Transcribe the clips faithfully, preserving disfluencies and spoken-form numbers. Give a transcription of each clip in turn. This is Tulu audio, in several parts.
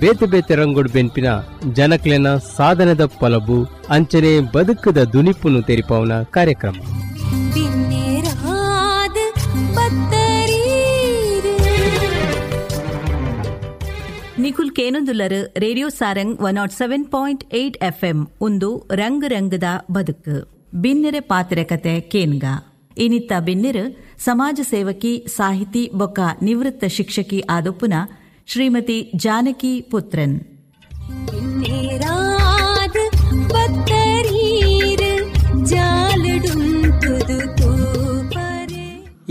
ಬೇತೆ ಬೇತೆ ರಂಗೋಡು ಬೆನ್ಪಿನ ಜನಕ್ಲೆನ ಸಾಧನದ ಪಲಬು ಅಂಚನೆ ಬದುಕದ ದುನಿಪುನು ತೆರಿಪಾವನ ಕಾರ್ಯಕ್ರಮ. ನಿಖುಲ್ ಕೇನೊಂದುಲ್ಲರು radio Sarang one nought seven point eight F M ಒಂದು ರಂಗ್ ರಂಗದ ಬದುಕು. ಬಿನ್ನೆರೆ ಪಾತ್ರೆ ಕತೆ ಕೇನ್ಗ ಇನಿತ್ತ ಬಿನ್ನೆರು ಸಮಾಜ ಸೇವಕಿ, ಸಾಹಿತಿ ಬೊಕ್ಕ ನಿವೃತ್ತ ಶಿಕ್ಷಕಿ ಆದೊಪ್ಪುನ ಶ್ರೀಮತಿ ಜಾನಕಿ ಪುತ್ರನ್.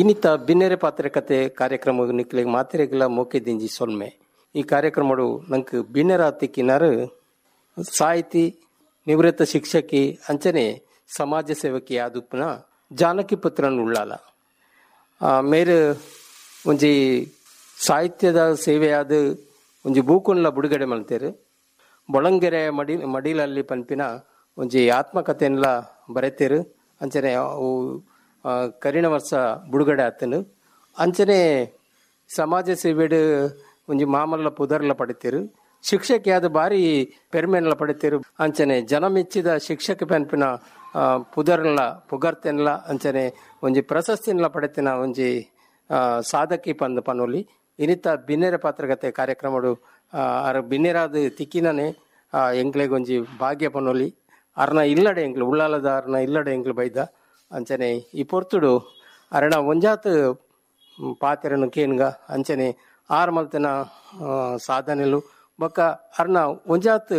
ಇನ್ನಿತ ಬಿನ್ನೆರೆ ಪಾತ್ರೆ ಕತೆ ಕಾರ್ಯಕ್ರಮ ನಿಕ್ಲೆಗ್ ಮಾತ್ರೆಗಳ ಮೋಕೆ ದಿಂಜಿ ಸೊಲ್ಮೆ. ಈ ಕಾರ್ಯಕ್ರಮಡು ನಂಗೆ ಬಿನ್ನೆರ ತಿಕ್ಕಿನಾರು ಸಾಹಿತಿ, ನಿವೃತ್ತ ಶಿಕ್ಷಕಿ ಅಂಚನೆ ಸಮಾಜ ಸೇವಕಿ ಆದುಪ್ಪನ ಜಾನಕಿ ಪುತ್ರನ್ ಉಳ್ಳಾಲ. ಮೇರು ಒಂಜಿ ಸಾಹಿತ್ಯದ ಸೇವೆಯಾದ ಒಂಜಿ ಬೂಕುನ್ಲ ಬುಡುಗಡೆ ಮಲ್ತೇರು. ಬೊಳಂಗೆರೆ ಮಡಿ ಮಡಿಲಲ್ಲಿ ಪನ್ಪಿನ ಒಂಜಿ ಆತ್ಮಕಥೆನ್ಲ ಬರೆತೇರು. ಅಂಚನೆ ಅವು ಕರಿಣ ವರ್ಷ ಬುಡುಗಡೆ ಆತನು. ಅಂಚನೆ ಸಮಾಜ ಸೇವೆಡು ಒಂಜಿ ಮಾಮಲ್ಲ ಪುದರ್ಲ ಪಡಿತೇರು. ಶಿಕ್ಷಕಿಯಾದ ಬಾರಿ ಪೆರ್ಮೆನ್ಲ ಪಡಿತೇರು. ಅಂಚನೆ ಜನ ಮೆಚ್ಚಿದ ಶಿಕ್ಷಕ ಪನ್ಪಿನ ಪುದರ್ಲ ಪುಗರ್ತೆನ್ಲ ಅಂಚನೆ ಒಂಜಿ ಪ್ರಶಸ್ತಿನ್ಲ ಪಡೆತಿನ ಒಂಜಿ ಸಾಧಕಿ ಪಂದ್ ಪನೋಲಿ. ಇನ್ನಿತ ಬಿನ್ನೆರ ಪಾತ್ರಗತೆ ಕಾರ್ಯಕ್ರಮಡು ಅರ ಬಿನ್ನೆರಾದ ತಿಕ್ಕಿನನೆ ಎಂಕ್ಲೆಗ್ ಒಂಜಿ ಭಾಗ್ಯ ಪನೋಲಿ. ಅರ್ನ ಇಲ್ಲಡೆ ಎಂಕ್ಲು ಉಳ್ಳಾಲದ ಅರ್ನ ಇಲ್ಲಡೆ ಎಂಕ್ಲು ಬೈದ. ಅಂಚನೆ ಈ ಪೊರ್ತುಡು ಅರಣ ಒಂಜಾತ್ ಪಾತೆರನು ಕೇನ್ಗ ಅಂಚನೆ ಆರ್ ಮಲ್ತನ ಸಾಧನೆಲು ಬೊಕ್ಕ ಅರ್ನ ಒಂಜಾತ್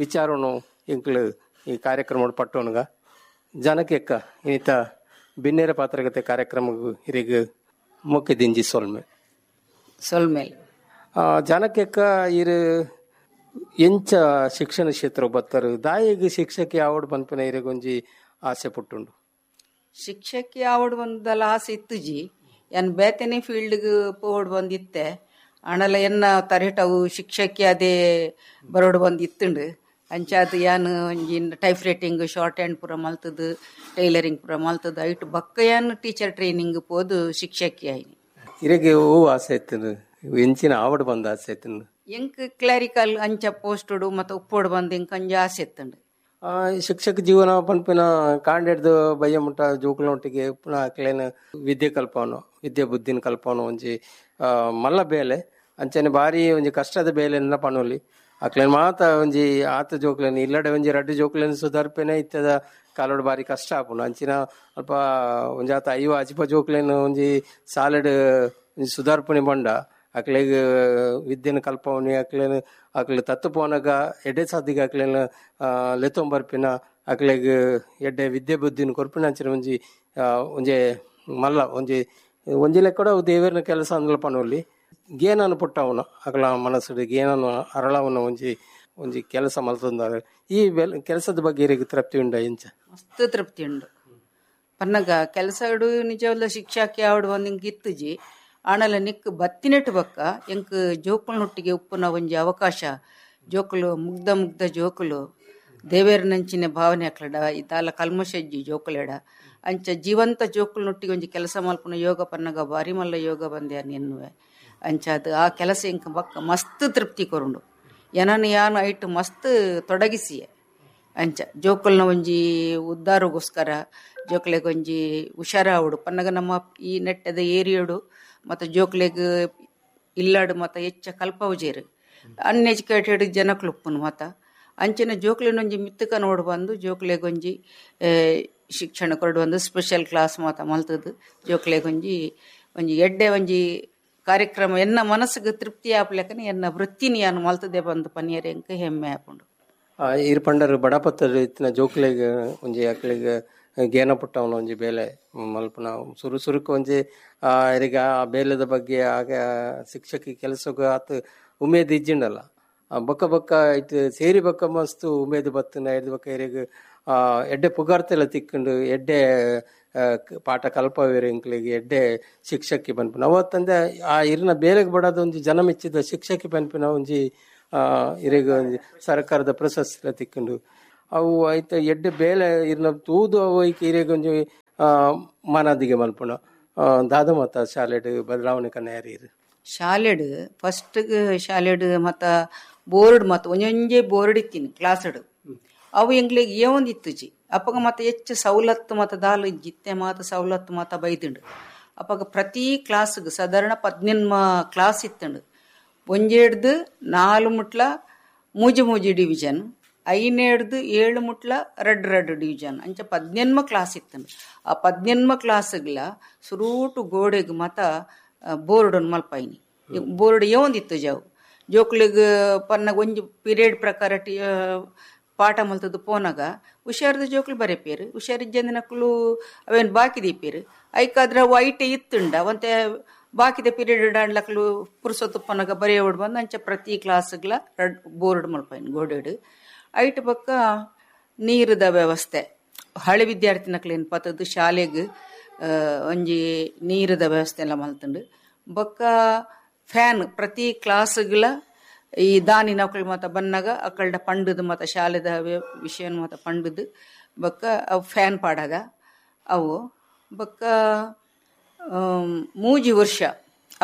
ವಿಚಾರನು ಎಂಕ್ಲು ಈ ಕಾರ್ಯಕ್ರಮ ಪಟ್ಟೋನ್ಗ. ಜನಕ್ಕೆಕ್ಕ ಇನ್ನಿತ ಬಿನ್ನೆರ ಪಾತ್ರಗತೆ ಕಾರ್ಯಕ್ರಮ ಹಿರಿಗ್ ಮುಖ್ಯ ದಿಂಜಿ ಸೊಲ್ಮೆ ಸೊಲ್ಮೇಲೆ. ಜನಕ್ಕೆಕ್ಕ ಇರು ಎಂಚ ಶಿಕ್ಷಣ ಕ್ಷೇತ್ರ ಬತ್ತರು ದಾಯಿಗೆ ಶಿಕ್ಷಕಿ ಆವಡ್ ಪನ್ಪಿನ ಇರಿಗೊಂಜಿ ಆಸೆ ಪುಟ್ಟುಂಡು. ಶಿಕ್ಷಕಿ ಆವಡ್ ಬಂದಲ್ಲ ಆಸೆ ಇತ್ತುಜಿ. ಎನ್ ಬೇತನೆ ಫೀಲ್ಡ್ಗೆ ಪೋಡ್ ಬಂದಿತ್ತೆ ಆಣಲ ಎನ್ನ ತರೇಟವು ಶಿಕ್ಷಕಿ ಅದೇ ಬರೋಡ್ ಬಂದು ಇತ್ತುಂಡು. ಅಂಚಾದ ಯಾನ್ ಒಂಜಿ ಟೈಪ್ ರೈಟಿಂಗ್ ಶಾರ್ಟ್ ಹ್ಯಾಂಡ್ ಪೂರ ಮಲ್ತದು, ಟೈಲರಿಂಗ್ ಪೂರ ಮಲ್ತದು ಐಟ್ ಬಕ್ಕ ಯಾನ್ ಟೀಚರ್ ಟ್ರೈನಿಂಗ್ ಪೋದು ಶಿಕ್ಷಕಿ ಆಯ್ನಿ. ಇರಗೆ ಹೂ ಆಸೆ ಇತ್ತು ಎಂಚಿನ ಆವಡ್ ಬಂದ ಆಸೆ ಇತ್ತು? ಎಂಕ್ ಕ್ಲಾರಿಕಲ್ ಅಂಚ ಪೋಸ್ಟುಡು ಮತ್ತೆ ಉಪ್ಪೋಡು ಬಂದು ಎಂಕ್ ಅಂಜ ಆಸೆ ಇತ್ತುಂಡು. ಶಿಕ್ಷಕ ಜೀವನ ಪನ್ಪಿನ ಕಾಂಡೆಡ್ದು ಬಯ್ಯ ಮುಟ್ಟ ಜೋಕುಲೊಟ್ಟಿಗೆ ಅಕ್ಲೇನ ವಿದ್ಯೆ ಕಲ್ಪವನು ವಿದ್ಯೆ ಬುದ್ಧಿನ ಕಲ್ಪವನು ಒಂಜಿ ಮಲ್ಲ ಬೇಲೆ ಅಂಚನೆ ಬಾರಿ ಒಂಜಿ ಕಷ್ಟದ ಬೇಲೆನ ಪನೋಲಿ. ಅಕ್ಲೇನ್ ಮಾತ ಒಂಜಿ ಆತ ಜೋಕ್ಲೇನ್ ಇಲ್ಲಡೆ ಒಂಜಿ ರಡ್ಡು ಜೋಕ್ಲೇನ್ ಸುಧಾರ್ಪೇನೆ ಇತ್ತದ ಕಾಲೋಡು ಬಾರಿ ಕಷ್ಟ ಆಪುಂಡು. ಅಂಚಿನ ಅಲ್ಪ ಒಂಜಾತ ಐವ ಅಜಿಪ ಜೋಕ್ಲೇನ್ ಒಂಜಿ ಸಾಲೆಡ್ ಒಂಜಿ ಸುಧಾರ್ಪಣೆ ಬಂಡ ಅಕ್ಲೆಗ್ ವಿದ್ಯೆನ ಕಲ್ಪವನಿ ಅಕ್ಲೇನ್ ಅಕ್ಲೆ ತತ್ತು ಪೋನಗ ಎಡ್ಡೆ ಸಾದಿಗೆ ಅಕ್ಲೇನ್ ಲೆತ್ತೊಂಬರ್ಪಿನ ಅಕ್ಲೆಗ್ ಎಡ್ಡೆ ವಿದ್ಯೆ ಬುದ್ಧಿನ ಕೊರ್ಪಿನ ಅಂಚಿನ ಒಂಜಿ ಒಂಜಿ ಮಲ್ಲ ಒಂಜಿ ಒಂಜಿ ಲೆಕ್ಕಡ ದೇವರನ ಕೆಲಸ ಅಂದ್ಲ ಪನೋಲಿ. ಗೇನನ್ನು ಪುಟ್ಟವನು ಅಕಲ ಮನಸ್ಸು ಗೇನನ್ನು ಅರಳವನ ಒಂಜಿ ಒಂಜಿ ಕೆಲಸ ಮಲ್ತಂದಾರೆ. ಈ ಬೆಲ್ ಕೆಲಸದ ಬಗ್ಗೆ ಇರಿಗೆ ತೃಪ್ತಿ ಉಂಡ ಎಂಚ? ಮಸ್ತ್ ತೃಪ್ತಿ ಉಂಡು. ಪನ್ನಗ ಕೆಲಸ ನಿಜವಲ್ಲ ಶಿಕ್ಷಕಿ ಆವಡು ಒಂದು ಹಿಂಗೆ ಇತ್ತುಜಿ. ಆಣಲ ನಿಕ್ ಬತ್ತಿನೆಟ್ಟು ಬಕ್ಕ ಎಂಕ್ ಜೋಕುಲ್ನೊಟ್ಟಿಗೆ ಉಪ್ಪುನ ಒಂಜಿ ಅವಕಾಶ. ಜೋಕುಲು ಮುಗ್ಧ ಮುಗ್ಧ ಜೋಕುಲು ದೇವೇರನಂಚಿನ ಭಾವನೆ ಅಕ್ಲಡ ಇದಾಲ ಕಲ್ಮಶಜ್ಜಿ ಜೋಕುಲೆಡ ಅಂಚ ಜೀವಂತ ಜೋಕುಲ್ನೊಟ್ಟಿಗೆ ಒಂಜಿ ಕೆಲಸ ಮಲ್ಪುನ ಯೋಗ ಪನ್ನಗ ಬಾರಿ ಮಲ್ಲ ಯೋಗ ಬಂದೆ ಎನ್ನುವೆ. ಅಂಚ ಅದು ಆ ಕೆಲಸ ಎಂಕ್ ಬಕ್ಕ ಮಸ್ತ್ ತೃಪ್ತಿ ಕೊರುಂಡು. ಏನನ್ನು ಯಾನು ಐಟ್ ಮಸ್ತ್ ತೊಡಗಿಸಿಯೆ. ಅಂಚ ಜೋಕುಲ್ನ ಒಂಜಿ ಉದ್ದಾರಗೋಸ್ಕರ ಜೋಕ್ಲೆಗ್ ಒಂಜಿ ಹುಷಾರಾವಡು ಪನ್ನಗ ನಮ್ಮ ಈ ನೆಟ್ಟದ ಏರಿಯೋಡು ಮತ್ತು ಜೋಕ್ಲೆಗ್ ಇಲ್ಲಾಡು ಮತ್ತು ಹೆಚ್ಚ ಕಲ್ಪವುಜೇರು ಅನ್ಎಜುಕೇಟೆಡ್ ಜನಕ್ಲುಪ್ಪುನು ಮತ್ತ ಅಂಚಿನ ಜೋಕ್ಲೆನೊಂಜಿ ಮಿತ್ತಕ ನೋಡು ಬಂದು ಜೋಕ್ಲೆಗೊಂಜಿ ಶಿಕ್ಷಣ ಕೊರಡು ಬಂದು ಸ್ಪೆಷಲ್ ಕ್ಲಾಸ್ ಮಾತ ಮಲ್ತದು ಜೋಕ್ಲೆಗೊಂಜಿ ಒಂಜಿ ಎಡ್ಡೆ ಒಂಜಿ ಕಾರ್ಯಕ್ರಮ ಎನ್ನ ಮನಸ್ಸಿಗೆ ತೃಪ್ತಿ ಆಪ್ಲೆಕನೆ ಎನ್ನ ವೃತ್ತಿನಿ ಯಾನು ಮಲ್ತದೆ ಬಂದು ಪನಿಯರ್ ಎಂಕ ಹೆಮ್ಮೆ ಆಪುಂಡು. ಇರ್ ಪಂಡರು ಬಡಪತ್ತರು ಇತ್ತಿನ ಜೋಕ್ಲೆಗ್ ಒಂಜಿ ಅಕ್ಲೆಗ್ ಗೇನ ಪುಟ್ಟವನ ಒಂಜಿ ಬೇಲೆ ಮಲ್ಪುನ ಸುರು ಸುರುಕು ಒಂಜಿ ಇರಿಗ ಆ ಬೇಲೆದ ಬಗ್ಗೆ ಆಗ ಶಿಕ್ಷಕಿ ಕೆಲಸಕ್ಕೆ ಆತ ಉಮೇದ್ ಇಜ್ಜಿಂಡಲ್ಲ. ಬೊಕ್ಕ ಬೊಕ್ಕ ಇಟ್ಟು ಸೇರಿ ಬೊಕ್ಕ ಮಸ್ತ್ ಉಮೇದ್ ಬತ್ತನ ಎಡ್ದು ಬೊಕ್ಕ ಇರಿಗ್ ಎಡ್ಡೆ ಪುಗಾರ್ತೆಲ್ಲ ತಿಕ್ಕೊಂಡು ಎಡ್ಡೆ ಪಾಠ ಕಲ್ಪವೇರು ಎಂಕ್ಲೆಗ್ ಎಡ್ಡೆ ಶಿಕ್ಷಕಿ ಪನ್ಪಿನ ಅವತ್ತಂದೆ ಆ ಇರಿನ ಬೇಲೆಗ್ ಬಡದ ಒಂಜಿ ಜನ ಮೆಚ್ಚಿದ ಶಿಕ್ಷಕಿ ಪನ್ಪಿನ ಒಂಜಿ ಇರೆಗ್ ಒಂಜಿ ಸರ್ಕಾರದ ಪ್ರಶಸ್ತಿ ತಿಕ್ಕೊಂಡು ಅವು ಐತ ಎಡ್ಡೆ ಬೇಲೆ ಇರ್ನ ತೂದು ಅವು ಇರೆಗ್ ಒಂಜಿ ಮಾನಾದಿಗೆ ಮಲ್ಪುನ ದಾದ ಮತ ಶಾಲೆಡ್ ಬದಲಾವಣೆ ಕನ್ಯಾರಿ. ಶಾಲೆಡ್ ಫಸ್ಟ್ ಶಾಲೆಡ್ ಮತ್ತ Board ಮತ್ತು ಒಂಜೊಂಜೆ ಬೋರ್ಡ್ ಇತ್ತೀನಿ ಕ್ಲಾಸ್ಡ್ ಅವು ಎಂಗ್ಲಿಗೆ ಏವೊಂದು ಇತ್ತುಜಿ. ಅಪ್ಪಗ ಮತ್ತೆ ಹೆಚ್ಚು ಸವಲತ್ತು ಮತ್ತ ದಾಲು ಇಜ್ಜಿತ್ತೆ ಮಾತ ಸವಲತ್ತು ಮಾತ ಬೈದುಂಡು. ಅಪ್ಪಗ ಪ್ರತಿ ಕ್ಲಾಸ್ಗೆ ಸಾಧಾರಣ ಪದ್ನೆನ್ಮ ಕ್ಲಾಸ್ ಇತ್ತಂಡು. ಒಂಜೆಡ್ದು ನಾಲು ಮುಟ್ಲ ಮೂಜಿ ಮೂಜಿ ಡಿವಿಷನ್, ಐನೇಡ್ದು ಏಳು ಮುಟ್ಲ red red division, ಅಂಚ ಪದ್ನೆನ್ಮ ಕ್ಲಾಸ್ ಇತ್ತಂಡು. ಆ ಪದ್ನೆನ್ಮ ಕ್ಲಾಸ್ಗ್ಲ ಸುರೂಟು ಗೋಡೆಗೆ ಮತ ಬೋರ್ಡ್ ಮಲ್ಪಾಯಿನಿ. ಬೋರ್ಡ್ ಏವೊಂದಿತ್ತು ಜಾವು ಜೋಕ್ಲಿಗ್ ಪನ್ನಾಗ ಒಂಜಿ ಪೀರಿಯಡ್ ಪ್ರಕಾರ ಟಿ ಪಾಠ ಮಲ್ತದ್ದು ಪೋನಾಗ ಹುಷಾರದ ಜೋಕ್ಲು ಬರೆಪೇರು, ಹುಷಾರಿಜ್ಜಂದಿನಕ್ಲು ಅವೇನು ಬಾಕಿ ದೀಪೇರು. ಐಕಾದ್ರೆ ಅವು ಐಟೆ ಇತ್ತುಂಡ ಒಂತೆ ಬಾಕಿದ ಪೀರಿಯಡ್ ಆಡ್ಲಕ್ಲು ಪುರುಸೊತ್ತು ಪನ್ನಾಗ ಬರೆಯೋಡ್ ಬಂದು ಅಂಚ ಪ್ರತಿ ಕ್ಲಾಸ್ಗ್ಲ ರೆಡ್ ಬೋರ್ಡ್ ಮಲ್ಪಾಯಿನಿ ಗೋಡೆಡ್. ಐಟ್ ಪಕ್ಕ ನೀರದ ವ್ಯವಸ್ಥೆ, ಹಳೆ ವಿದ್ಯಾರ್ಥಿನಕ್ಲೇನು ಪತ್ತದ್ದು ಶಾಲೆಗೆ ಒಂಜಿ ನೀರದ ವ್ಯವಸ್ಥೆ ಎಲ್ಲ ಮಲ್ತುಂಡು. ಬೊಕ್ಕ ಫ್ಯಾನ್ ಪ್ರತಿ ಕ್ಲಾಸ್ಗಳ ಈ ದಾನಿ ನೌಕರಿ ಮಾತ ಬನ್ನಾಗ ಅಕ್ಕಳ್ಡ ಪಂಡದು ಮಾತ ಶಾಲೆದ ವಿಷಯ ಮಾತ ಪಂಡದು ಬೊಕ್ಕ ಅವು ಫ್ಯಾನ್ ಪಾಡಾಗ ಅವು. ಬೊಕ್ಕ ಮೂಜಿ ವರ್ಷ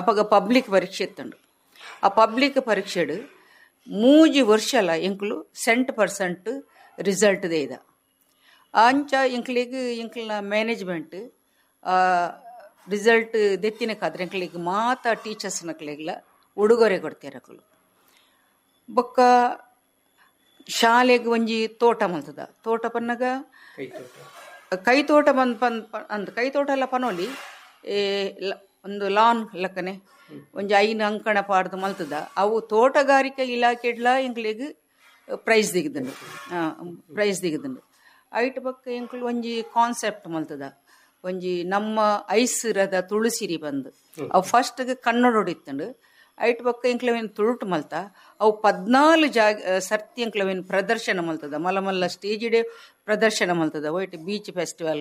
ಅಪ್ಪಗ ಪಬ್ಲಿಕ್ ಪರೀಕ್ಷೆ ಇತ್ತಂಡು. ಆ ಪಬ್ಲಿಕ್ ಪರೀಕ್ಷೆಡು ಮೂಜಿ ವರ್ಷಲ ಎಂಕ್ಲು cent percent result ಇದ. ಅಂಚ ಎಂಕ್ಲಿಗೆ ಎಂಕ್ಲಿನ ಮ್ಯಾನೇಜ್ಮೆಂಟ್ ರಿಸಲ್ಟ್ ದೆತ್ತಿನಕ್ಕಾದ್ರೆ ಎಂಕ್ಲಿಗೆ ಮಾತ ಟೀಚರ್ಸ್ ನಕ್ಲಿಗೆಲ್ಲ ಉಡುಗೊರೆ ಕೊಡ್ತಾರೆ ಅಕ್ಕಲು. ಬೊಕ್ಕ ಶಾಲೆಗೆ ಒಂಜಿ ತೋಟ ಮಲ್ತದ. ತೋಟ ಪನ್ನಾಗ ಕೈ ತೋಟ ಬಂದ್ ಪನ್ ಅಂದ್ ಕೈ ತೋಟ ಎಲ್ಲ ಪನೋಲಿ ಒಂದು ಲಾನ್ ಲಕ್ಕನೆ ಒಂಜಿ ಐನು ಅಂಕಣ ಪಾಡ್ದು ಮಲ್ತದ. ಅವು ತೋಟಗಾರಿಕೆ ಇಲಾಖೆಡ್ಲ ಎಂಕ್ಲಿಗೆ ಪ್ರೈಸ್ ದಿಗದುಂಡು, ಪ್ರೈಸ್ ದಿಗದುಂಡು. ಐಟ್ ಬೊಕ್ಕ ಎಂಕ್ಲು ಒಂಜಿ ಕಾನ್ಸೆಪ್ಟ್ ಮಲ್ತದ, ಒಂಜಿ ನಮ್ಮ ಐಸಿರದ ತುಳಸಿರಿ ಬಂದು ಅವು ಫಸ್ಟ್ ಕನ್ನಡ ಇತ್ತಂಡು. ಐಟ್ ಬೊಕ್ಕ ಎಂಕ್ಲವೇನು ತುಳುಟು ಮಲ್ತ ಅವು ಪದ್ನಾಲು ಜಾಗ ಸರ್ತಿ ಎಂಕ್ಲವೇನು ಪ್ರದರ್ಶನ ಮಲ್ತದ, ಮಲ್ಲ ಮಲ್ಲ ಸ್ಟೇಜ್ ಇಡೇ ಪ್ರದರ್ಶನ ಮಲ್ತದ. White beach festival,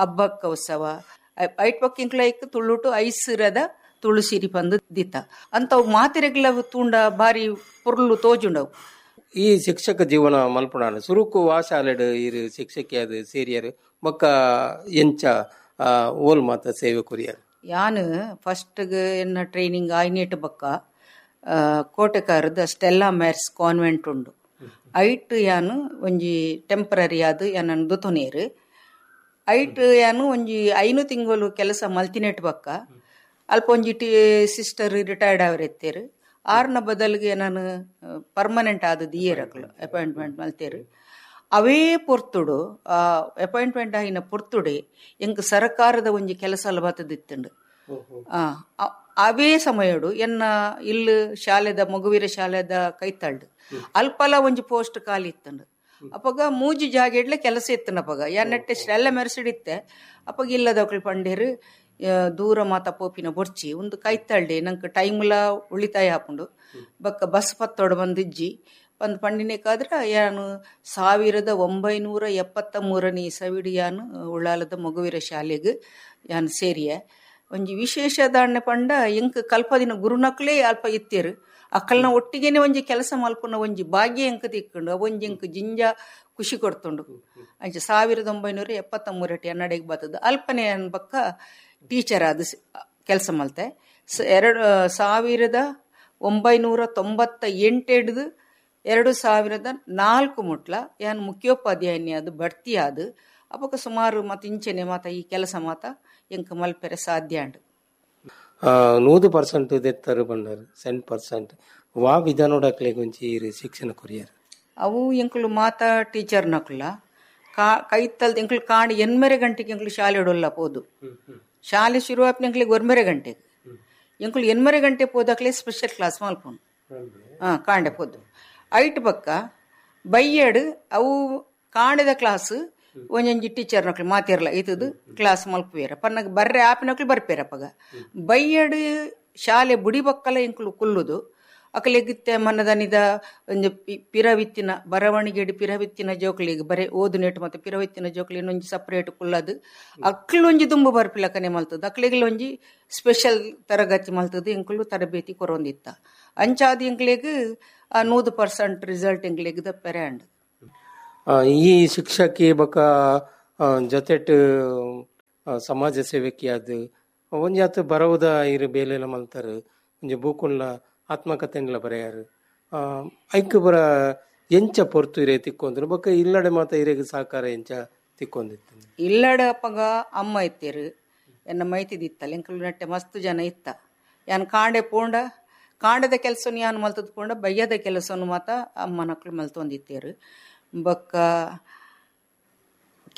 Abbakka ಉತ್ಸವ ಐಟ್ ಬೊಕ್ಕ ಎಂಕ್ಲೈಕ್ ತುಳುಟು ಐಸಿರದ ತುಳಸಿರಿ ಬಂದು ದಿತ್ತ ಅಂತವು ಮಾತಿರೆಗ್ಲ ತೂಂಡ ಬಾರಿ ಪೊರ್ಲು ತೋಜುಂಡವು. ಈ ಶಿಕ್ಷಕ ಜೀವನ ಮಲ್ಪುಣಾನ ಸುರುಕು ವಾ ಶಾಲೆಡ್ ಇರು ಶಿಕ್ಷಕಿ ಅದು ಸೇರಿಯರು ಬೊಕ್ಕ ಎಂಚ ಓಲ್ ಮಾತ ಸೇವೆ ಕೊರಿಯರು. ಯಾನು ಫಸ್ಟ್ಗೆ ಎನ್ನ ಟ್ರೈನಿಂಗ್ ಆಯ್ನೇಟ್ ಬೊಕ್ಕ ಕೋಟೆಕಾರದ Stella Maris convent ಉಂಡು. ಐಟ್ ಯಾನು ಒಂಜಿ ಟೆಂಪ್ರರಿ ಆದ್ ಯಾನನ್ ದುತೊನೇರು. ಐಟ್ ಯಾನು ಒಂಜಿ ಐನು ತಿಂಗಳು ಕೆಲಸ ಮಲ್ತಿನೆಟ್ ಬೊಕ್ಕ ಅಲ್ಪ ಒಂಜಿ T sister retired ಅವರೆತ್ತೇರು. ಆರ್ನ ಬದಲಿಗೆ ನಾನು ಪರ್ಮನೆಂಟ್ ಆದ ದಿಯೇರಕ್ಲು ಅಪಾಯಿಂಟ್ಮೆಂಟ್ ಮಲ್ತೇರು. ಅವೇ ಪೊರ್ತುಡು ಅಪಾಯಿಂಟ್ಮೆಂಟ್ ಆಯಿನ ಪೊರ್ತುಡೆ ಎಂಕ್ ಸರಕಾರದ ಒಂಜಿ ಕೆಲಸ ಅಲ್ಲ ಬತ್ತದಿತ್ತುಂಡು. ಅವೇ ಸಮಯಡು ಎನ್ನ ಇಲ್ಲು ಶಾಲೆದ ಮಗುವೀರ ಶಾಲೆದ ಕೈತಲ್ಡು ಅಲ್ಪಲ ಒಂಜಿ ಪೋಸ್ಟ್ ಖಾಲಿ ಇತ್ತುಂಡು. ಅಪ್ಪಗ ಮೂಜಿ ಜಾಗೆಡ್ಲೆ ಕೆಲಸ ಇತ್ತನ ಅಪ್ಪಗ ಯಾನೆಟ್ಟೆ ಎಲ್ಲ ಮೆರೆಸಿಡಿತ್ತೆ. ಅಪ್ಪಗ ಇಲ್ಲದಕ್ಳು ಪಂಡೇರು ದೂರ ಮಾತ ಪೋಪಿನ ಬೊರ್ಚಿ ಒಂದು ಕೈತಳ್ಳಿ ನಂಗೆ ಟೈಮ್ಲ ಉಳಿತಾಯ ಹಾಕೊಂಡು ಬಕ್ಕ ಬಸ್ ಪತ್ತೋಡು ಬಂದಿಜ್ಜಿ ಬಂದು ಪಂಡಿನೇಕಾದ್ರೆ ಯಾನು ಸಾವಿರದ ಒಂಬೈನೂರ ಎಪ್ಪತ್ತ ಮೂರನೇ ಇಸವಿಡು ಯಾನು ಉಳ್ಳಾಲದ ಮಗುವೀರ ಶಾಲೆಗೆ ಯಾನು ಸೇರಿಯ. ಒಂಜಿ ವಿಶೇಷ ದಾಣ್ಯ ಪಂಡ ಎಂಕ್ ಕಲ್ಪದಿನ ಗುರುನಕ್ಲೇ ಅಲ್ಪ ಇತ್ತೇರು. ಅಕ್ಕಲ್ನ ಒಟ್ಟಿಗೆನೆ ಒಂಜಿ ಕೆಲಸ ಮಲ್ಪುನ ಒಂಜಿ ಭಾಗ್ಯ ಎಂಕ್ ತಿಕ್ಕೊಂಡು ಒಂಜಿ ಎಂಕ್ ಜಿಂಜ ಖುಷಿ ಕೊಡ್ತುಂಡು. ಅಂಚೆ ಸಾವಿರದ ಒಂಬೈನೂರ ಎಪ್ಪತ್ತ ಮೂರಟಿ ಅನ್ನಡೆಗೆ ಬರ್ತದೆ. ಅಲ್ಪನೆ ಅನ್ಬಕ್ಕ ಟೀಚರ್ ಆದ ಕೆಲಸ ಮಲ್ತೆ. ಎರಡು ಸಾವಿರದ ಒಂಬೈನೂರ ತೊಂಬತ್ತ ಎಂಟೆಡ್ದು ಎರಡು ಸಾವಿರದ ನಾಲ್ಕು ಮುಟ್ಲ ಯಾನ್ ಮುಖ್ಯೋಪಾಧ್ಯಾಯಿನಿ ಅದು ಬಡ್ತಿ ಅದು ಅಪ್ಪಕ ಸುಮಾರು ಮತ್ತ ಇಂಚೆನೆ ಮಾತ ಈ ಕೆಲಸ ಮಾತ ಎಂಕ್ ಮಲ್ಪೆರೆ ಸಾಧ್ಯ ಅಂಡು. ನೂದು ಪರ್ಸೆಂಟ್ ದೆತ್ತರು ಬಂಡರು ಸೆಂಟ್ ಪರ್ಸೆಂಟ್ ವಾ ವಿಧಾನೋಡಕ್ಲೆ ಗುಂಚಿ ಶಿಕ್ಷಣ ಕೊರಿಯರ್ ಅವು ಎಂಕುಲು ಮಾತಾ ಟೀಚರ್ ನಕುಲ ಕಾ ಕೈತಲ್ದ ಎಂಕುಲು ಕಾಣಿ ಎನ್ಮೆರೆ ಗಂಟೆಗೆ ಎಂಕುಲು ಶಾಲೆ ಇಡೋಲ್ಲ ಪೋದು. ಶಾಲೆ ಶುರು ಆಪ್ನ ಎಂಕ್ಲಿಗೆ ಒರ್ಮೆರೆ ಗಂಟೆಗೆ ಎಂಕುಲು ಎನ್ಮೆರೆ ಗಂಟೆ ಪೋದಾಕ್ಲೆ ಸ್ಪೆಷಲ್ ಕ್ಲಾಸ್ ಮಲ್ಪೋನು ಹಾ ಕಾಂಡೆ ಪೋದು. ಐಟ್ ಪಕ್ಕ ಬೈಯಡು ಅವು ಕಾಂಡದ ಕ್ಲಾಸ್ ಒಂಜೊಂಜಿ ಟೀಚರ್ ನಕ್ಲು ಮಾತಿರಲ್ಲ ಇತದು ಕ್ಲಾಸ್ ಮಲ್ಪುವೇರ ಪನ್ನಾಗ ಬರ್ರೆ ಆಪಿನಕ್ಲು ಬರ್ಪೇರಪ್ಪಗ. ಬೈಯಡು ಶಾಲೆ ಬುಡಿ ಬಕ್ಕಲ ಎಂಕುಲು ಕುಲ್ಲುದು ಅಕಲೆಗಿತ್ತೆ ಮನ್ನದನಿದ ಒಂಜಿ ಪಿರವಿತ್ತಿನ ಬರವಣಿಗೆಡು ಪಿರವಿತ್ತಿನ ಜೋಕ್ಲಿಗೆ ಬರೇ ಓದು ನೆಟ್ಟು ಮತ್ತೆ ಪಿರವಿತ್ತಿನ ಜೋಕ್ಲಿ ಇನ್ನೊಂಜಿ ಸಪ್ರೇಟ್ ಕುಲ್ಲದು ಅಕ್ಲೊಂಜಿ ದುಂಬು ಬರ್ಪಿಲಕನೆ ಮಲ್ತದ ಅಕ್ಲಿಗೆ ಒಂಜಿ ಸ್ಪೆಷಲ್ ತರಗತಿ ಮಲ್ತದ ಎಂಕುಲು ತರಬೇತಿ ಕೊರೊಂದಿತ್ತ. ಅಂಚಾದ ಎಂಕ್ಲೆಗ್ ಆ ನೂದು ಪರ್ಸೆಂಟ್ ರಿಸಲ್ಟ್ ಎಂಕ್ಲೆಗ್ ದಪ್ಪೆರೆ ಅಂಡ್. ಈ ಶಿಕ್ಷಕಿ ಬೊಕ ಜೊತೆಟ್ ಸಮಾಜ ಸೇವಕಿ ಅದು ಒಂಜಾತ್ ಬರವುದ ಇರು ಬೇಲೆಲ ಮಲ್ತಾರು ಒಂಜಿ ಬೂಕುಲ್ಲ ಆತ್ಮಕಥೆನ್ಲ ಬರೆಯಾರು. ಐಕ್ ಬರ ಎಂಚ ಪೊರ್ತು ಇರೆ ತಿಕ್ಕೊಂದ್ರು ಬೊಕ್ಕ ಇಲ್ಲಡೆ ಮಾತ ಇರೆಗ್ ಸಹಕಾರ ಎಂಚ ತಿಕ್ಕೊಂದಿತ್ತು? ಇಲ್ಲಡೆ ಅಪ್ಪಗ ಅಮ್ಮ ಇತ್ತೇರು, ಎನ್ನ ಮೈತಿದಿತ್ತಲ್ಲ, ಎಂಕಲು ನಟ್ಟೆ ಮಸ್ತ್ ಜನ ಇತ್ತ. ಯಾನ್ ಕಾಂಡೆ ಪೋಂಡ ಕಾಂಡದ ಕೆಲಸನು ಯಾನ್ ಮಲ್ತದ್ ಪೋಂಡ ಬಯ್ಯದ ಕೆಲಸನು ಮಾತ ಅಮ್ಮನಕ್ಳು ಮಲ್ತೊಂದಿತ್ತೇರು. ಬೊಕ್ಕ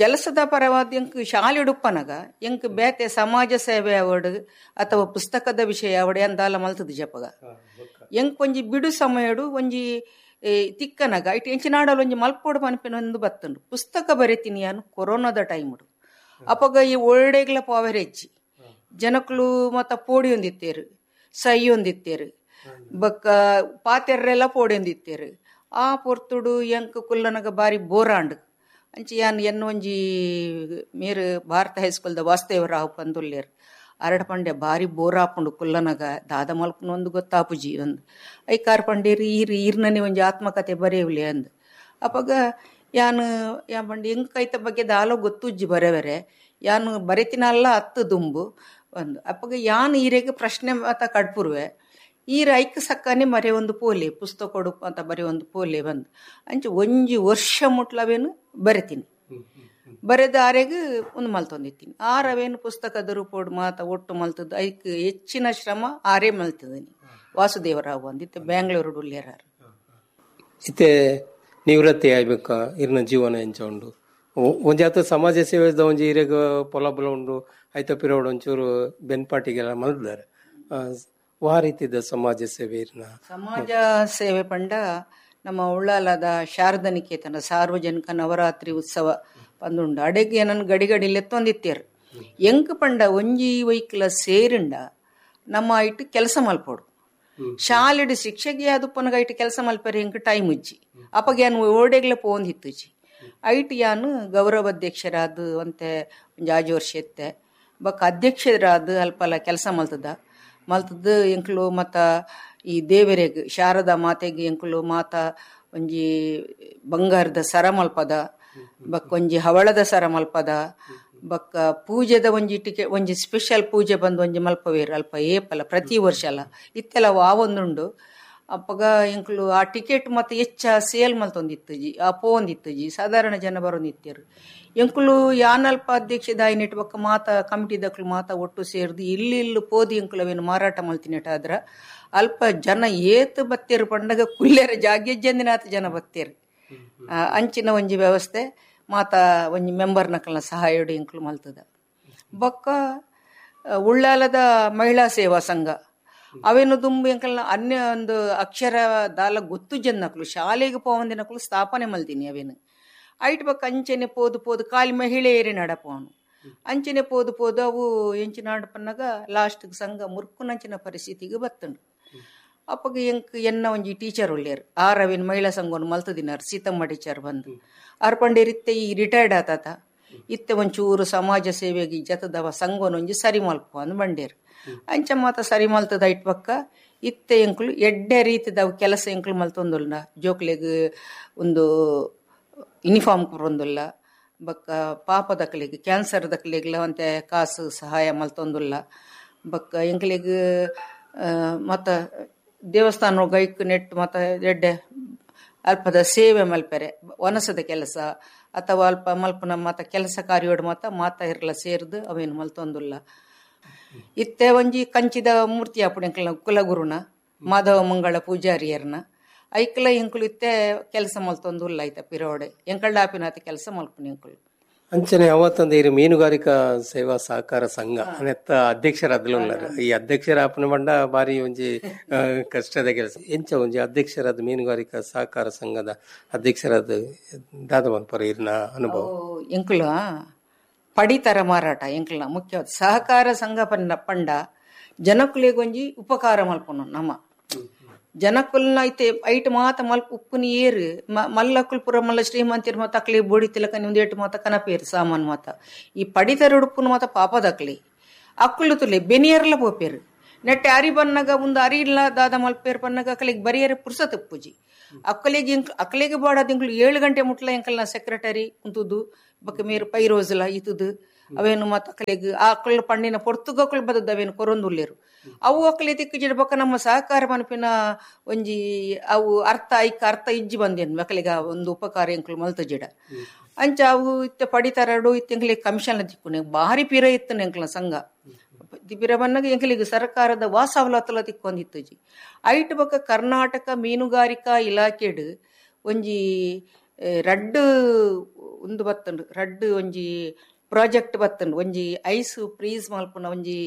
ಕೆಲಸದ ಪರವಾದ ಎಂಕ್ ಶಾಲೆ ಉಡುಪನಗ ಎಂಕ್ ಬೇತೆ ಸಮಾಜ ಸೇವೆ ಅವಡು ಅಥವಾ ಪುಸ್ತಕದ ವಿಷಯ ಅವಡು ಎಂದಾಲ ಮಲ್ತದ ಜಪಗ. ಎಂಕ್ ಒಂಜಿ ಬಿಡು ಸಮಯಡು ಒಂಜಿ ತಿಕ್ಕನಗ ಇಟ್ಟು ಎಂಚಿನಾಡಲು ಒಂಜಿ ಮಲ್ಪೋಡು ಪನ್ಪಿನ ಒಂದು ಬತ್ತುಂಡು. ಪುಸ್ತಕ ಬರೀತೀನಿ ಯಾನು ಕೊರೋನಾದ ಟೈಮುಡು. ಅಪಗ ಈ ಒಳ್ಳೆಗ್ಲ ಪಾವರೆಜ್ಜಿ ಜನಕ್ಲು ಮತ್ತ ಪೋಡಿ ಒಂದಿತ್ತೇರು, ಸೈ ಒಂದಿತ್ತೇರು, ಬೊಕ್ಕ ಪಾತೆರ್ರೆಲ್ಲ ಪೋಡಿ ಒಂದಿತ್ತೇರು. ಆ ಪೊರ್ತುಡು ಎಂಕ್ ಕುಲ್ಲನಗ ಬಾರಿ ಬೋರಾಂಡು. ಅಂಚೆ ಯಾನ್ ಎನ್ನ ಒಂಜಿ ಮೇರು ಭಾರತ ಹೈಸ್ಕೂಲ್ದ ವಾಸುದೇವರಾವ್ ಪಂದುಲ್ಲೇರು ಅರಡ ಪಂಡೆ ಬಾರಿ ಬೋರಾಪುಂಡು ಕುಲ್ಲನಗ ದಾದ ಮಲ್ಪುನ ಒಂದು ಗೊತ್ತಾಪುಜಿ ಒಂದು ಐಕಾರ್ ಪಂಡೇರು ಈರ್ ಈರ್ನನೆ ಒಂಜಿ ಆತ್ಮಕತೆ ಬರೆಯುವಲೆ ಅಂದ್. ಅಪಗ ಯಾನು ಯಾನ್ ಪಂಡೆ ಎಂಕ್ ಐತ ಬಗ್ಗೆ ದಾಲ ಗೊತ್ತುಜ್ಜಿ ಬರೆವರೆ ಯಾನು ಬರೆತಿನಲ್ಲ ಹತ್ತು ದುಂಬು ಒಂದು. ಅಪಗ ಯಾನ್ ಈರೆಗೆ ಪ್ರಶ್ನೆ ಮಾತ ಕಡ್ಪುರುವೆ ಈರ ಐಕ್ ಸಕ್ಕನೆ ಮರೆ ಒಂದು ಪೋಲೆ ಪುಸ್ತಕ ಕೊಡುಪ ಅಂತ ಬರೆ ಒಂದು ಪೋಲೆ ಬಂದು ಅಂಚೆ ಒಂಜಿ ವರ್ಷ ಮುಟ್ಲವೇನು ಬರೆತೀನಿ. ಬರೆದ ಆರೆಗ್ ಒಂದು ಮಲ್ತೊಂದಿತ್ತೀನಿ. ಆರವೇನು ಪುಸ್ತಕದ ರೂಪೋಡು ಮಾತ ಒಟ್ಟು ಮಲ್ತದ್ದು ಐಕ್ ಹೆಚ್ಚಿನ ಶ್ರಮ ಆರೇ ಮಲ್ತದನಿ ವಾಸುದೇವರಾವ್ ಅಂದಿತ್ತು ಬ್ಯಾಂಗ್ಳೂರು ಉಲ್ಲೇರಾರು. ಇತ್ತೆ ನಿವೃತ್ತಿ ಆಯ್ಬೇಕ ಇರ್ನ ಜೀವನ ಎಂಚ ಉಂಡು? ಒಂಜಾತ ಸಮಾಜ ಸೇವೆದ ಒಂಜಿ ಇರೆಗ್ ಪೊಲಬಲ ಉಂಡು ಐತ ಪಿರೋಡು ಒಂಚೂರು ಬೆನ್ಪಾಟಿಗೆಲ್ಲ ಮಲ್ದಾರೆ. ವಾ ರೀತಿದ ಸಮಾಜ ಸೇವೆ ಇರ್ನ? ಸಮಾಜ ಸೇವೆ ಪಂಡ ನಮ್ಮ ಉಳ್ಳಾಲದ ಶಾರದಾ ನಿಕೇತನ ಸಾರ್ವಜನಿಕ ನವರಾತ್ರಿ ಉತ್ಸವ ಪಂದುಂಡು. ಅಡೆಗೆ ನನ್ನ ಗಡಿ ಗಡಿ ಲೆತ್ತೊಂದಿತ್ತೇರು. ಎಂಕ್ ಪಂಡ ಒಂಜಿ ವೈಕ್ಲ ಸೇರಿಂಡ ನಮ್ಮ ಇಟ್ಟು ಕೆಲಸ ಮಲ್ಪೋಡು. ಶಾಲೆಡು ಶಿಕ್ಷಕಿ ಅದು ಪನಗ ಇಟ್ಟು ಕೆಲಸ ಮಲ್ಪರೆ ಎಂಕ್ ಟೈಮ್ ಉಜ್ಜಿ. ಅಪ್ಪಗೆ ಯಾನು ಓಡೆಗ್ಲ ಪೋಂದಿತ್ತುಜಿ. ಐಟ್ ಯಾನು ಗೌರವ ಅಧ್ಯಕ್ಷರಾದ ಅಂತೆ ಒಂಜಿ ಆಜು ವರ್ಷ ಎತ್ತೆ ಬೊಕ್ಕ ಅಧ್ಯಕ್ಷರಾದ ಅಲ್ಪಲ ಕೆಲಸ ಮಲ್ತದ ಮಲ್ತದ್ದು ಎಂಕ್ಲು ಮತ್ತ ಈ ದೇವರೆಗ್ ಶಾರದಾ ಮಾತೆಗ್ ಎಂಕ್ಲು ಮಾತ ಒಂಜಿ ಬಂಗಾರದ ಸರ ಮಲ್ಪದ, ಬೊಕ್ಕ ಒಂಜಿ ಹವಳದ ಸರ ಮಲ್ಪದ, ಬೊಕ್ಕ ಪೂಜೆದ ಒಂಜಿ ಟಿಕೆ ಒಂಜಿ ಸ್ಪೆಷಲ್ ಪೂಜೆ ಬಂದು ಒಂಜಿ ಮಲ್ಪವೇರು ಅಲ್ಪ ಏಪಲ ಪ್ರತಿ ವರ್ಷ ಅಲ್ಲ ಇತ್ತೆಲ್ಲ ಆವೊಂದುಂಡು. ಅಪ್ಪಗ ಎಂಕ್ಲು ಆ ಟಿಕೆಟ್ ಮತ್ತೆ ಹೆಚ್ಚ ಸೇಲ್ ಮಲ್ತೊಂದಿತ್ತುಜಿ, ಆ ಪೋಂದಿತ್ತುಜಿ, ಸಾಧಾರಣ ಜನ ಬರೋಂದಿತ್ತೇರು. ಎಂಕುಲು ಯಾನಲ್ಪ ಅಧ್ಯಕ್ಷದಾಯಿನೆಟ್ ಬೊಕ್ಕ ಮಾತ ಕಮಿಟಿದಕ್ಲು ಮಾತ ಒಟ್ಟು ಸೇರ್ದು ಇಲ್ಲಿ ಇಲ್ಲಿ ಪೋದಿ ಎಂಕುಲು ಅವೇನು ಮಾರಾಟ ಮಲ್ತಿನೆಟ್ ಆದ್ರ ಅಲ್ಪ ಜನ ಏತ್ ಬತ್ತೇರು ಪಂಡಗ ಕುಲ್ಲೆರ ಜಾಗ್ಯಜ್ಜಂದಿನಾತ ಜನ ಬತ್ತೇರು. ಅಂಚಿನ ಒಂಜಿ ವ್ಯವಸ್ಥೆ ಮಾತ ಒಂಜಿ ಮೆಂಬರ್ನಕಲ್ನ ಸಹಾಯಡು ಎಂಕುಲು ಮಲ್ತದ. ಬೊಕ್ಕ ಉಳ್ಳಾಲದ ಮಹಿಳಾ ಸೇವಾ ಸಂಘ ಅವೇನು ದುಂಬು ಎಂಕಲ್ನ ಅನ್ಯ ಒಂದು ಅಕ್ಷರ ದಾಲ ಗೊತ್ತು ಜನ್ನಕ್ಲು ಶಾಲೆಗೆ ಪೋವಂದಿನಕ್ಲು ಸ್ಥಾಪನೆ ಮಲ್ದಿನಿ ಅವೇನು. ಐಟ್ ಬೊಕ್ಕ ಅಂಚೆನೆ ಪೋದು ಪೋದು ಖಾಲಿ ಮಹಿಳೆಯರೇ ನಡಪವನು ಅಂಚೆನೆ ಪೋದು ಪೋದು ಅವು ಎಂಚಿನ ನಡಪನ್ನಾಗ ಲಾಸ್ಟ್ ಸಂಘ ಮುರ್ಕುನಂಚಿನ ಪರಿಸ್ಥಿತಿಗೆ ಬತ್ತಂಡು. ಅಪ್ಪಗ ಎಂಕ್ ಎನ್ನ ಒಂಜಿ ಟೀಚರ್ ಉಳ್ಳೇರು ಆರವಿನ ಮಹಿಳಾ ಸಂಘವನ್ನು ಮಲ್ತದಿನಾರು ಸೀತಮ್ಮ ಟೀಚರ್ ಬಂದು ಆರ್ ಪಂಡೇರಿತ್ತೆ ಈ ರಿಟೈರ್ಡ್ ಆತಾತ ಇತ್ತೆ ಒಂಚೂರು ಸಮಾಜ ಸೇವೆಗೆ ಜತದವ ಸಂಘವನ್ನು ಒಂಜಿ ಸರಿ ಮಲ್ಪ ಅಂದ್ ಬಂಡೇರು. ಅಂಚ ಮಾತ ಸರಿ ಮಲ್ತದ it ಪಕ್ಕ ಇತ್ತೆ ಎಂಕ್ಲು ಎಡ್ಡೆ ರೀತಿದವು ಕೆಲಸ ಎಂಕ್ಲು ಮಲ್ತೊಂದುಲ್ಲ. ಜೋಕ್ಲೆಗ್ ಒಂದು ಯೂನಿಫಾರ್ಮ್ ಕೊರೊಂದುಲ್ಲ, ಬೊಕ್ಕ ಪಾಪದಕ್ಲೆಗ್ ಕ್ಯಾನ್ಸರ್ ದಕ್ಲೆಗ್ಲ ಒಂತೆ ಕಾಸು ಸಹಾಯ ಮಲ್ತೊಂದುಲ್ಲ. ಬೊಕ್ಕ ಎಂಕ್ಲೆಗ್ ಮತ್ತ ದೇವಸ್ಥಾನ ಗೈಕ್ ನೆಟ್ ಮತ್ತ ಎಡ್ಡೆ ಅಲ್ಪದ ಸೇವೆ ಮಲ್ಪೆರೆ ವನಸದ ಕೆಲಸ ಅಥವಾ ಅಲ್ಪ ಮಲ್ಪನ ಮಾತ ಕೆಲಸ ಕಾರ್ಯೋಡು ಮಾತ ಮಾತ ಇರ್ಲ ಸೇರ್ದು ಅವೇನು ಮಲ್ತೊಂದುಲ್ಲ. ಇತ್ತೆ ಒಂಜಿ ಕಂಚಿದ ಮೂರ್ತಿ ಆಪುಣ ಎಂಕ್ಲ ಕುಲಗುರುನ ಮಾಧವ ಮಂಗಳ ಪೂಜಾರಿಯರ್ನ ಐಕ್ಲ ಎಂಕುಲು ಇತ್ತೆ ಕೆಲಸ ಮಲ್ತೊಂದುಲ್ಲ ಐತ ಪಿರೋಡೆ ಎಂಕಳ್ಳ ಆಪಿನಾತ ಕೆಲಸ ಮಲ್ಪುನ ಎಂಕುಲು. ಅಂಚನೆ ಅವತ್ತೊಂದು ಈ ಮೀನುಗಾರಿಕಾ ಸೇವಾ ಸಹಕಾರ ಸಂಘ ನೆತ್ತ ಅಧ್ಯಕ್ಷರಾದ್ಲು. ಈ ಅಧ್ಯಕ್ಷರ ಆಪನ ಬಂಡ ಬಾರಿ ಒಂಜಿ ಕಷ್ಟದ ಕೆಲಸ. ಎಂಚ ಒಂಜಿ ಅಧ್ಯಕ್ಷರಾದ ಮೀನುಗಾರಿಕಾ ಸಹಕಾರ ಸಂಘದ ಅಧ್ಯಕ್ಷರಾದ ದಾದ ಮನ್ಪರ ಇರ್ನ ಅನುಭವ? ಎಂಕುಲ ಪಡಿತರ ಮಾರಾಟ ಎಂಕುಲ ಮುಖ್ಯವಾದ ಸಹಕಾರ ಸಂಘ ಪಂಡ ಪಂಡ ಜನಕುಲೆಗೊಂಜಿ ಉಪಕಾರ ಮಲ್ಪುನು ನಮ್ಮ ಜನಕುಲ್ನ ಐತೆ ಐಟ್ ಮಾತ ಮಲ್ಪ ಉಪ್ಪುನ ಏರು ಮಲ್ಲಕುಲ್ ಪುರ ಮಲ್ಲ ಶ್ರೀಮಂತಿರ್ ಮಾತ ಅಕ್ಲಿ ಬೋಡಿ ತಿಲಕ ನಿಮ್ದು ಏಟು ಮಾತ ಕನಪೇರು ಸಾಮಾನ್ ಮಾತ ಈ ಪಡಿತರ ಉಡುಪುನ ಮಾತ ಪಾಪದಕ್ಲಿ ಅಕ್ಕುಲು ತುಲೆ ಬೆನಿಯರ್ಲ ಪೋಪೇರು ನೆಟ್ಟೆ ಅರಿ ಬನ್ನಗ ಒಂದು ಅರಿ ಇಲ್ಲ ದಾದ ಮಲ್ಪೇರು ಬನ್ನಗ ಅಕ್ಕಲಿಗೆ ಬರಿಯರೆ ಪುರ್ಸತ್ ಪೂಜಿ ಅಕ್ಕಲಿಗೆ ಇಂಕ್ ಅಕ್ಕಲಿಗೆ ಬಾಡದ ಇಂಕ್ಲು ಏಳು ಗಂಟೆ ಮುಟ್ಲ ಎಂಕಲ್ನ ಸೆಕ್ರೆಟರಿ ಕುಂತುದು ಬೊಕ್ಕ ಮೇರು ಪೈರೋಜುಲ ಇತುದು ಅವೇನು ಮತ್ತ ಅಕಲಿಗೆ ಆಕಳು ಪಣ್ಣಿನ ಪೊರ್ತುಗಕ್ಕಳು ಬದದ್ದು ಅವೇನು ಕೊರೊಂದುಲ್ಲೇರು. ಅವು ಅಕಲಿ ತಿಕ್ಕಿಜಿಡ ಬೊಕ್ಕ ನಮ್ಮ ಸಹಕಾರ ಮನಪಿನ ಒಂಜಿ ಅವು ಅರ್ಥ ಐಕ ಅರ್ಥ ಇಜ್ಜಿ ಬಂದೇನು ಮಕ್ಕಳಿಗೆ ಒಂದು ಉಪಕಾರ ಎಂಕುಲು ಮಲ್ತಜಿಡ. ಅಂಚ ಅವು ಇತ್ತ ಪಡಿತರಡು ಇತ್ತ ಕಮಿಷನ್ ತಿಕ್ಕುನೆ ಭಾರಿ ಪಿರ ಇತ್ತು ಎಂಕಲ ಸಂಘ ಪಿರ ಬನ್ನಾಗ ಎಂಕಲಿಗೆ ಸರ್ಕಾರದ ವಾಸವಲತ್ತಲ ತಿಕ್ಕೊಂದಿತ್ತುಜಿ. ಐಟ್ ಬೊಕ್ಕ ಕರ್ನಾಟಕ ಮೀನುಗಾರಿಕಾ ಇಲಾಖೆಡು ಒಂಜಿ ರಡ್ಡು ಒಂದು ಬತ್ತಂಡು ರಡ್ಡು ಒಂಜಿ ಪ್ರಾಜೆಕ್ಟ್ ಬತ್ತಂಡು ಒಂಜಿ ಐಸ್ ಫ್ರೀಸ್ ಮಲ್ಪುನ ಒಂಜಿ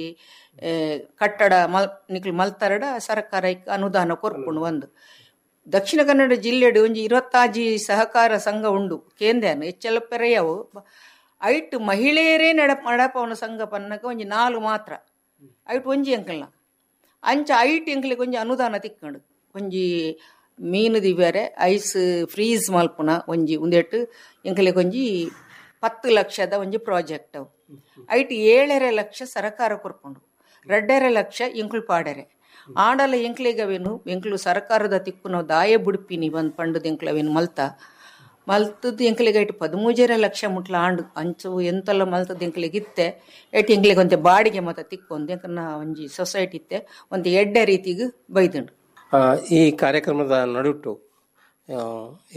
ಕಟ್ಟಡ ಮಲ್ ನಿಕ್ಲು ಮಲ್ತರಡ ಸರ್ಕಾರ ಅನುದಾನ ಕೊರ್ಪುಂಡು. ಒಂದು ದಕ್ಷಿಣ ಕನ್ನಡ ಜಿಲ್ಲೆಡು ಒಂಜಿ ಇರುವತ್ತಾಜಿ ಸಹಕಾರ ಸಂಘ ಉಂಡು ಕೇಂದ್ರನು ಹೆಚ್ಚೆಲ್ಲ ಪೆರೆಯವು. ಐಟ್ ಮಹಿಳೆಯರೇ ನಡ ನಡಪವನ ಸಂಘ ಪನ್ನಕ ಒಂಜಿ ನಾಲು ಮಾತ್ರ ಐಟ್ ಒಂಜಿ ಅಂಕಲ್ನ ಅಂಚ ಐಟ್ ಎಂಕ್ಲಿಗೆ ಒಂಜಿ ಅನುದಾನ ತಿಕ್ಕಂಡು ಒಂಜಿ ಮೀನು ದಿವ್ಯಾರೆ ಐಸ್ ಫ್ರೀಸ್ ಮಲ್ಪುನ ಒಂಜಿ ಒಂದೆಟ್ಟು ಎಂಕ್ಲಿಗೆ ಒಂಜಿ ಪತ್ತು ಲಕ್ಷದ ಒಂಜಿ ಪ್ರಾಜೆಕ್ಟ್ ಅವು. ಐಟ್ ಏಳರೆ ಲಕ್ಷ ಸರಕಾರ ಕೊರ್ಪುಂಡು, ರಡ್ಡರೆ ಲಕ್ಷ ಎಂಕ್ಲು ಪಾಡರೆ. ಆಂಡಲ ಎಂಕ್ಲಿಗೆ ಅವೇನು ಎಂಕ್ಲು ಸರ್ಕಾರದ ತಿಕ್ಕು ನಾವು ದಾಯ ಬುಡ್ಪಿನಿ ಬಂದು ಪಂಡದ ಎಂಕ್ಲು ಅವೇನು ಮಲ್ತ ಮಲ್ತದ್ದು ಎಂಕ್ಲಿಗೆ ಐಟ್ ಪದಿಮೂಜರೆ ಲಕ್ಷ ಮುಟ್ಲ ಆಂಡು ಅಂಚು ಎಂತೆಲ್ಲ ಮಲ್ತದ್ದು ಎಂಕ್ಲಿಗೆ ಇತ್ತೆ. ಐಟ್ ಎಂಕ್ಲಿಗೆ ಒಂತೆ ಬಾಡಿಗೆ ಮತ ತಿಕ್ಕೊಂದು ಎಂಕನ್ನ ಒಂಜಿ ಸೊಸೈಟಿ ಇತ್ತೆ ಒಂದು ಎಡ್ಡೆ ರೀತಿಗೆ ಬೈದುಂಡು. ಈ ಕಾರ್ಯಕ್ರಮದ ನಡುಟು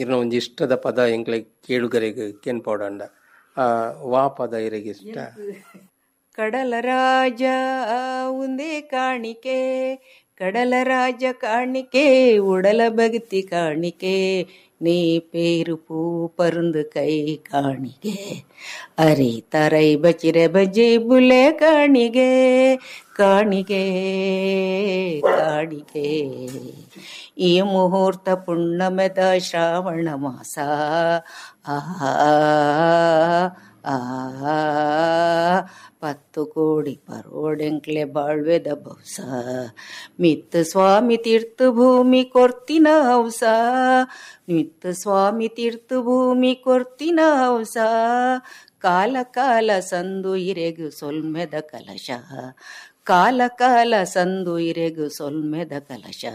ಇರ್ನ ಒಂಜಿ ಇಷ್ಟದ ಪದ ಎಂಕ್ಲಿಗೆ ಕೇಳುಗರಿಗೆ ಕೇನ್ ಪೌಡಂಡ ವಾ ಪದ ಇರಗೆ ಇಷ್ಟ? ಕಡಲ ರಾಜ ಉಂದೇ ಕಾಣಿಕೆ, ಕಡಲ ರಾಜ ಕಾಣಿಕೆ, ಉಡಲ ಭಕ್ತಿ ಕಾಣಿಕೆ, ನೀ ಪೇರು ಪೂ ಪರುಂದು ಕೈ ಕಾಣಿಗೆ, ಅರಿ ತರೈ ಬಚಿರೆ ಬಜೆ ಬುಲೆ ಕಾಣಿಗೆ, ಕಾಣಿಗೆ ಕಾಣಿಗೆ. ಈ ಮುಹೂರ್ತ ಪುಣ್ಣಮೆದ ಶ್ರಾವಣ ಮಾಸ ಆ ಆ ಪತ್ತು ಕೋಡಿ ಪರೋಡೆಂಕ್ಲೆ ಬಾಳ್ವೆದ ಬೌಸ, ಮಿತ್ತ ಸ್ವಾಮಿ ತೀರ್ಥ ಭೂಮಿ ಕೊರ್ತಿನ ಹೌಸ, ಮಿತ್ತ ಸ್ವಾಮಿ ತೀರ್ಥ ಭೂಮಿ ಕೊರ್ತಿನ ಹೌಸ, ಕಾಲ ಕಾಲ ಸಂದು ಇರೆಗು ಸೊಲ್ಮೆದ ಕಲಶ, ಕಾಲ ಕಾಲ ಸಂದು ಇರೆಗು ಸೊಲ್ಮೆದ ಕಲಶ.